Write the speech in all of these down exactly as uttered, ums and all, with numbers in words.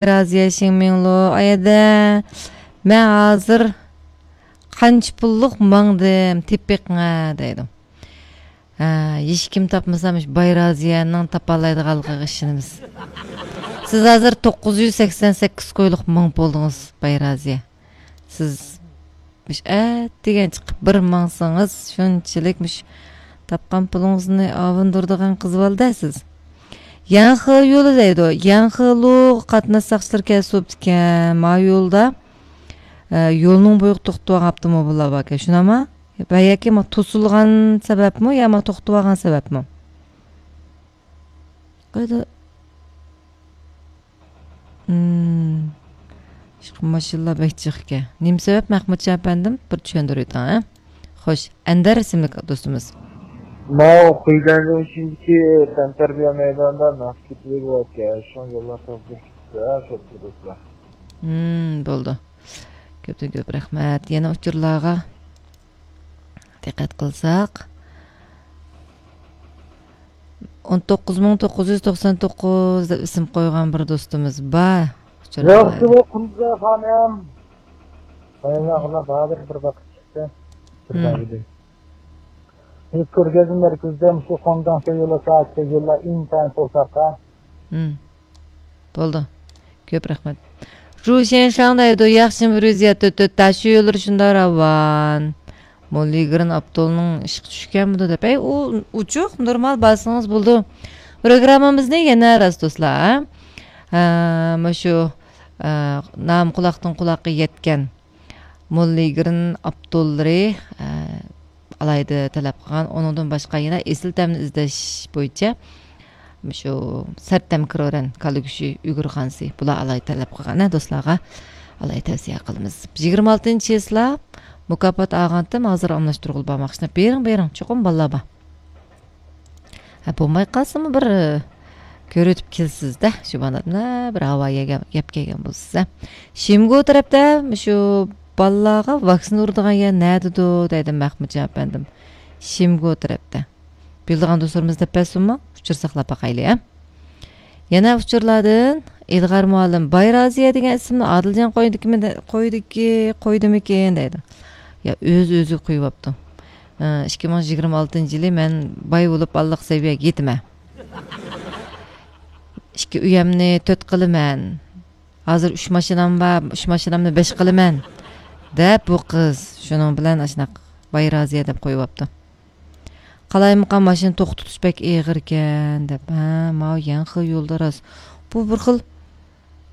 رازىيە شىڭمىڭلۇ، ئايەدە، مەن ھازىر قانچە پۇللۇق ماڭدىم، تېپىپ بېقىڭە، دەيدۇ. ھە، ھېچكىم تاپمىسا، مۇشۇ باي رازىيەنىڭ تاپالايدىغانلىقىغا ئىشىنىمىز. سىز ھازىر توققۇز يۈز سەكسەن سەككىز كويلۇق ماڭ بولدىڭىز، باي رازىيە. سىز مۇشۇ ئەتىگەن چىقىپ بىر ماڭسىڭىز، شۇنچىلىك مۇشۇ تاپقان پۇلىڭىزنى ئاۋۇندۇرىدىغان قىزىۋالدى سىز. يەنخې يولى دەيدۇ. يەنخېلۇغا قاتناش ساقچىلىرى كەلسە بوپتىكەن. ما يولدا، ئە، يولنىڭ بويىغا توختىۋالغان ئاپتوموبىللار باركەن. شۇنداقمۇ؟ ۋە ياكى ما توسۇلغان سەۋەبمۇ، يا ما توختىۋالغان سەۋەبمۇ؟ قايدا؟ مم. ئىشقىلىپ ماشىنىلار بەك جىق ئىكەن. نېمە سەۋەب، مەخمۇتجان ئەپەندىم؟ بىر چۈشەندۈرۈۋېتىڭ، ھە؟ خوش، ئەندەر ئىسىملىك دوستىمىز. ماۋۇ خۇيزەنجىڭ ئىچىدىكى تەنتەربىيە مەيدانىدا ناخشا كېتىۋېرىۋاتىكەن. شۇڭا يوللار تازىلىق كېتىپتۇ، ھە، شوپۇر دوستلار. مم، بولدى. كۆپتىن كۆپ رەھمەت. يەنە ئۇچۇرلارغا دىققەت قىلساق، ئون توققۇز مىڭ توققۇز يۈز توقسان توققۇز دەپ ئىسىم قويغان بىر دوستىمىز بار. ياخشى بۇ قۇمزا خانىم. بايرامغا ھازىر بىر ۋاقىت چىقتى. بىر مم. بار ئىدى. بىز كۆرگەزمە مەركىزىدە مۇشۇ خۇاڭداڭ شويۇلا سائەتتە يوللار ئىنتايىن توساققان. مم. بولدى. كۆپ رەھمەت. رۇشەن شاڭ دەيدۇ، ياخشىمۇ رۈزىيەت تۆت تۆت تاشيوللىرى شۇنداق راۋان. موللىگرىن ئاپتولنىڭ ئىشقا چۈشكەنمىدۇ دەپ. ئەي، ئۇ ئوچۇق، نورمال بارسىڭىز بولىدۇ. پروگراممىمىزنى يەنە راست دوستلار، ھە؟ ھە، مۇشۇ، ئە، نام قۇلاقتىن قۇلاققا يەتكەن موللىگرىن ئاپتوللىرى، ئە، ئالاھىدە تەلەپ قىلغان. ئۇنىڭدىن باشقا يەنە ئېسىل تەمنى ئىزدەش بويىچە مۇشۇ سەرتەم كىرورەن، كالا گۆشى، ئۈگرە خانىسى، بۇلار ئالاھىدە تەلەپ قىلغان، ھە، دوستلارغا ئالاھىدە تەۋسىيە قىلىمىز. يىگىرمە ئالتىنچى چىسلا مۇكاپات ئالغانتىم، ھازىر ئالماشتۇرغىلى بارماقچى. بېرىڭ، بېرىڭ، چوقۇم بالىلار بار. ھە، بولماي قالسىمۇ بىر، ئە، كۆرۈۋېتىپ كېلىسىز-دە، شۇ بالىلار بىر ھاۋا يەپ كەلگەن بولىسىز، ھە. شىمگو تەرەپتە شۇ بالىلارغا ۋاكسىنا ئۇرىدىغان يەر نەدىدۇ دەيدۇ مەخمۇتجان ئەپەندىم. شىمگو تەرەپتە. بىلىدىغان دوستلىرىمىز دەپ بەرسۇنمۇ؟ ئۇچۇر ساقلاپ باقايلى، ھە. يەنە ئۇچۇرلاردىن ئىلغار مۇئەللىم، باي رازىيە دېگەن ئىسىمنى ئادىلجان قويدىكىمىدە-، قويدىكى-، قويدىمىكىن دەيدۇ. يا ئۆز-ئۆزىگە قويۇۋاپتۇ. ئە، ئىككى مىڭ يىگىرمە ئالتىنچى يىلى مەن باي بولۇپ بارلىق سەۋىيەگە يېتىمەن. ئىككى ئۆيەمنى تۆت قىلىمەن. ھازىر ئۈچ ماشىنام بار، ئۈچ ماشىنامنى بەش قىلىمەن، دەپ بۇ قىز شۇنىڭ بىلەن ئاشۇنداق باي رازىيە دەپ قويۇۋاپتۇ. قالايمىقان ماشىنا توختىتىش بەك ئېغىركەن دەپ. ھە، ماۋۇ يەنخې يولدا راست. بۇ بىر خىل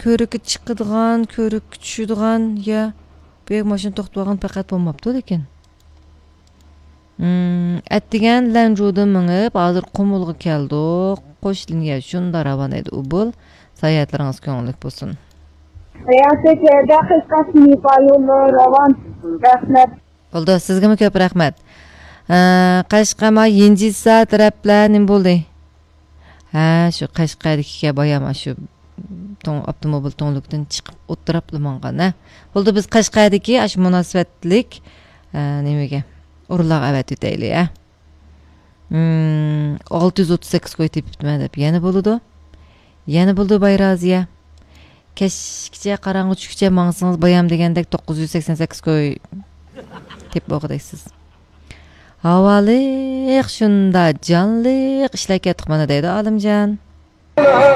كۆۋرۈككە چىقىدىغان، كۆۋرۈككە چۈشىدىغان يا بۇ يەرگە ماشىنا توختىتىۋالغان پەقەت بولماپتۇ لېكىن. مم، ئەتىگەن لەنجۇدىن مېڭىپ، ھازىر قۇمۇلغا كەلدۇق. قوش لىنىيە شۇنداق راۋان ئىدى ئۇبۇل. ساياھەتلىرىڭىز كۆڭۈللۈك بولسۇن. ساياھەت دەقىقەسى نېپال يوللىرى راۋان. رەھمەت. بولدى، سىزگىمۇ كۆپ رەھمەت. ئە، قەشقەر ما يىنجىسا تەرەپلەر نېمە بولدى؟ ھە، شۇ قەشقەردىكىگە بايام شۇ توڭ-، ئاپتوموبىل تۈڭلۈكىدىن چىقىپ ئولتۇراپلا ماڭغان، ھە. بولدى، بىز قەشقەردىكى ئاشۇ مۇناسىۋەتلىك، ئە، نېمىگە، ئورۇنلارغا ئەۋەتىۋېتەيلى، ھە. مم، ئالتە يۈز ئوتتۇز سەككىز كوي تېپىپتىمەن دەپ يەنە بولىدۇ. يەنە بولىدۇ، باي رازىيە. كەچكىچە، قاراڭغۇ چۈشكىچە ماڭسىڭىز بايام دېگەندەك توققۇز يۈز سەكسەن سەككىز كوي تېپىپ بولغۇدەكسىز. ھاۋالىق، شۇندا جانلىق ئىشلەپ كەتتۇق مانا دەيدۇ ئالىمجان.